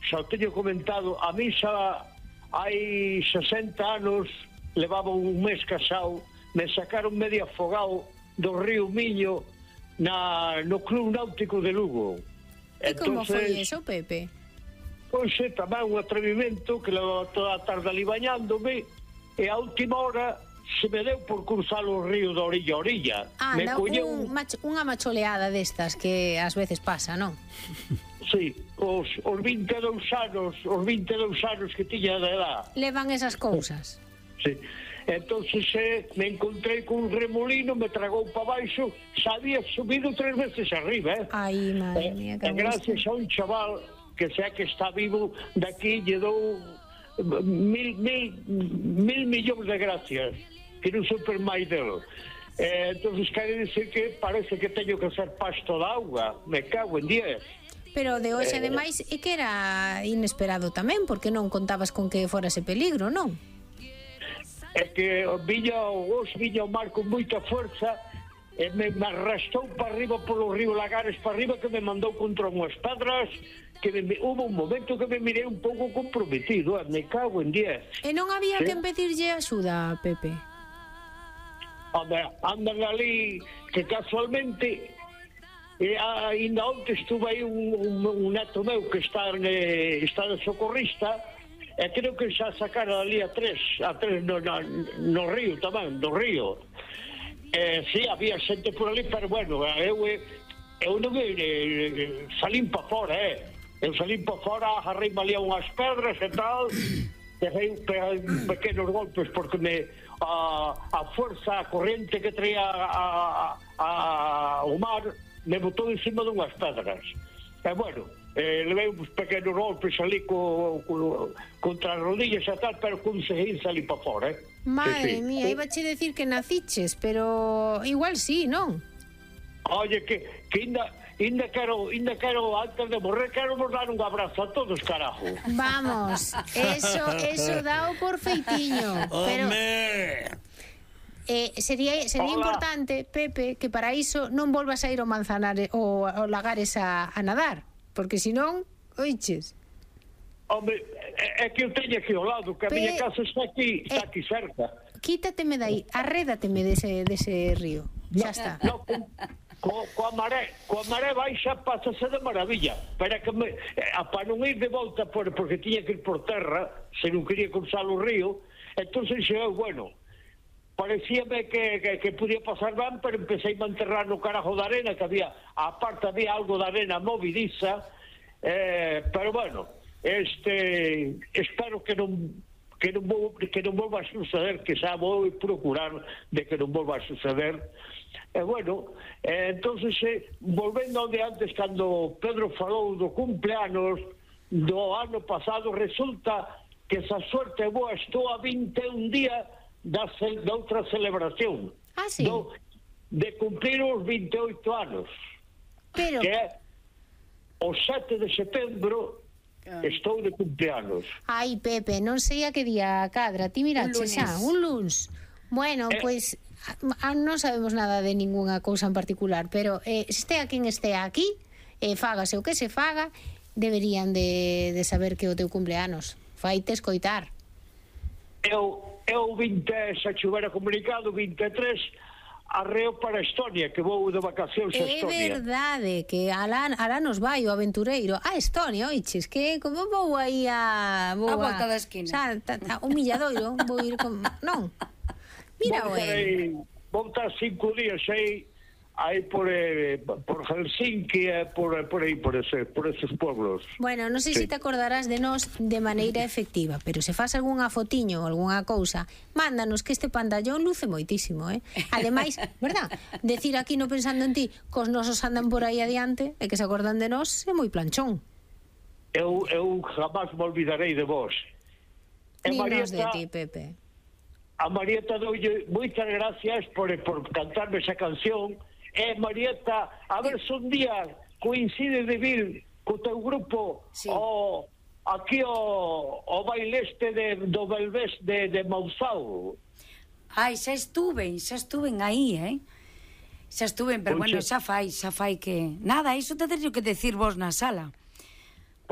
xa o teño comentado, a mí xa hai 60 anos, levaba un mes casado, me sacaron medio afogado do río Miño no Club Náutico de Lugo. E como foi eso, Pepe? Pois é, tamén un atrevimento que levaba toda a tarde ali bañándome, e a última hora se me deu por cruzar o río de orilla a orilla. Unha macholeada destas que ás veces pasa, non? Sí, os 22 anos que tiña de edad. Levan esas cousas. Sí. Entonces me encontrei con un remolino, me tragou para baixo, xa había subido 3 veces arriba, Ai, madre mía, que gracias a un chaval que sea que está vivo de aquí, lle dou mil millóns de gracias, que non super máis delo. Entonces quere decir que parece que teño que ser pasto de auga, me cago en 10. Pero de hoxe, ademais, é que era inesperado tamén, porque non contabas con que fora ese peligro, non? É que viña o mar con moita fuerza e me arrastou para arriba polo río Lagares para arriba, que me mandou contra unhas pedras, que hubo un momento que me mirei un pouco comprometido, me cago en 10. E non había que pedirlle axuda, Pepe? Andan ali que casualmente ainda onte estuve aí un neto meu que está de socorrista, e creo que xa sacaron ali a tres no río tamén, do río. Sí, había xente por ali, pero bueno, eu non salín para fora, eu salín para fora, agarrei-me ali a unhas pedras e tal, dejei pequenos golpes porque a forza, a corrente que traía o mar me botou encima de unhas pedras. E bueno, levei uns pequenos golpes ali contra as rodillas e tal, pero conseguí salir para fora. Madre mía, iba a che decir que naciches, pero igual sí, non? Oye, que ainda quero, antes de morrer, quero vos dar un abrazo a todos, carajo. Vamos, eso dao por feitiño. Pero sería importante, Pepe, que para iso non volvas a ir ao Manzanares ou ao Lagares a nadar, porque senón, oiches. Hombre, é que eu teño aquí ao lado, que a miña casa está aquí cerca. Quítateme dai, arrédateme dese río. Xa está. No, coa maré baixa pásase de maravilla, pero que para non ir de volta porque tiña que ir por terra, se non quería cruzar o río, entonces bueno, parecíame que podía pasar ben, pero empecé a enterrar no carajo de arena, que había algo de arena movidiza, pero bueno, espero que non volva a suceder, que xa vou procurar de que non volva a suceder. Bueno, entonces volvendo onde antes, cando Pedro falou do cumpleanos do ano pasado, resulta que esa suerte boa, estou a 21 días da outra celebración. Ah, sí? De cumplir os 28 anos. Pero... que é o 7 de setembro. Estou de cumpleanos. Ai, Pepe, non sei a que día cadra. Ti mirache xa, un luns. Bueno, pois non sabemos nada de ningunha cousa en particular, pero estea quen estea aquí, fágase o que se faga, deberían de saber que o teu cumpleanos. Faite escoitar. Eu 20, se chuvera comunicado, 23 arreo para Estonia, que vou de vacacións a Estonia. É verdade, que alá nos vai o aventureiro a Estonia, oiches, que como vou aí a volta da esquina. Un milladoiro, vou ir con... Non, mira, vou estar 5 días aí por Helsinki, por aí, por esos pueblos. Bueno, non sei se te acordarás de nós de maneira efectiva, pero se faz algunha fotiño ou algunha cousa, mándanos, que este pantallón luce moitísimo, Ademais, verdad, decir aquí no pensando en ti, cos nosos andan por aí adiante e que se acordan de nós, é moi planchón. Eu jamás me olvidarei de vos. Ni nos de ti, Pepe. A Marieta doulle moitas gracias por cantarme esa canción. Marieta, a ver se un día coincide de vir co teu grupo aquí o baile do Belvés de Mauzao. Ai, xa estuven aí, xa estuven, pero bueno, xa fai que nada, iso te teño que decir vos na sala.